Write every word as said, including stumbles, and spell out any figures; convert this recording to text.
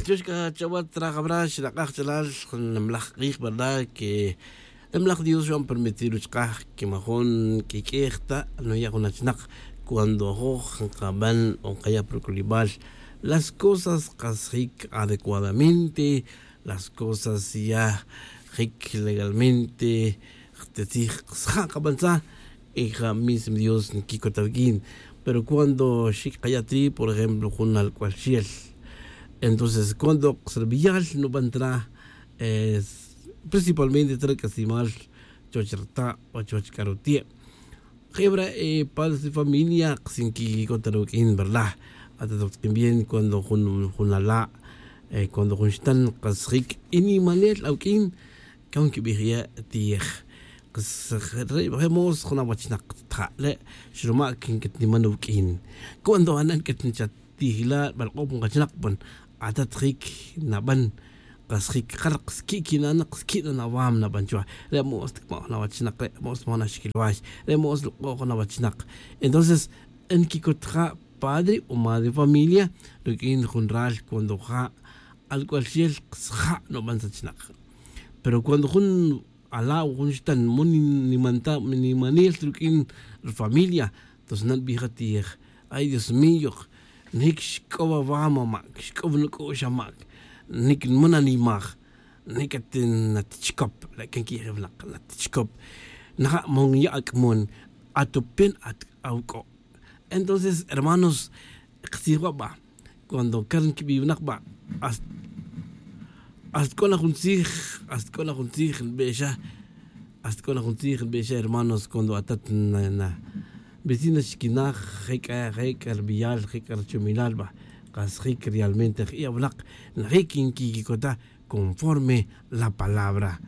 Chuxka chawat trajabra xinak'aj chalal. Nimalaj k'ij verdad que nimalaj dios xwan permitir uchkaj que majun k'ik'ej ta nuya' jun achinak. Cuando ajoj nkaban o nkaya' proculimal las cosas qasjik adecuadamente, las cosas ya jik legalmente jtetzij qsja' qabantzaj. Y ja mismo dios nkikota wik'in. Pero cuando xik qayati por ejemplo jun alk'ual xel, entonces cuando qsrbiyal nuban tra principalmente tra k'asimal chuwach rta' o chuwach k'aruti'e'. Jebra' padres de familia qas nkikota ruwik'in verdad. Ata tok tz'in bien cuando jun jun ala' cuando jun xtan qas jik' y nimanel awik'in. Kan kibij ya' tiyej qas re' moos jun awachnak tja' le' xruma' kin katniman awik'in. Cuando anan katnichat tijla' balk'ob nkachinak pan atat jik naban qas jik kar qas ki' kinan qas ki' nan awam naban chuwa. Re' moos tikma' jun awachnak re' moos tikma' jun axkilwax re' moos luk'o' jun awachnak. Entonces nkikot ja' padre o madre familia ruk'in jun ral cuando ja' alk'ual xel qas ja' nuban sachnak. Pero cuando jun ala' o jun xtan mo nimanel ruk'in rfamilia. Entonces nan nbij atiyej ay dios mío, nik xk'ow awam amak xk'ow nuk'u'x amak, nik nman animaj, nik at natichkop. Le' kan kiyejeb nak natichkop. Naja' mo nya' ak'mon atupen at awk'o'. Entonces hermanos, ktzij wa' ba cuando kar nkibi winak ba hasta c'o na jun tzij hasta c'o na jun tzij nbe'xa. Hasta c'o na jun tzij nbe'xa hermanos cuando atat na vecina xquinaj je' c'a je' c'a rbiyal je' c'a rchomilal ba. Qas jic realmente je' awnak najic nquiquicota conforme la palabra.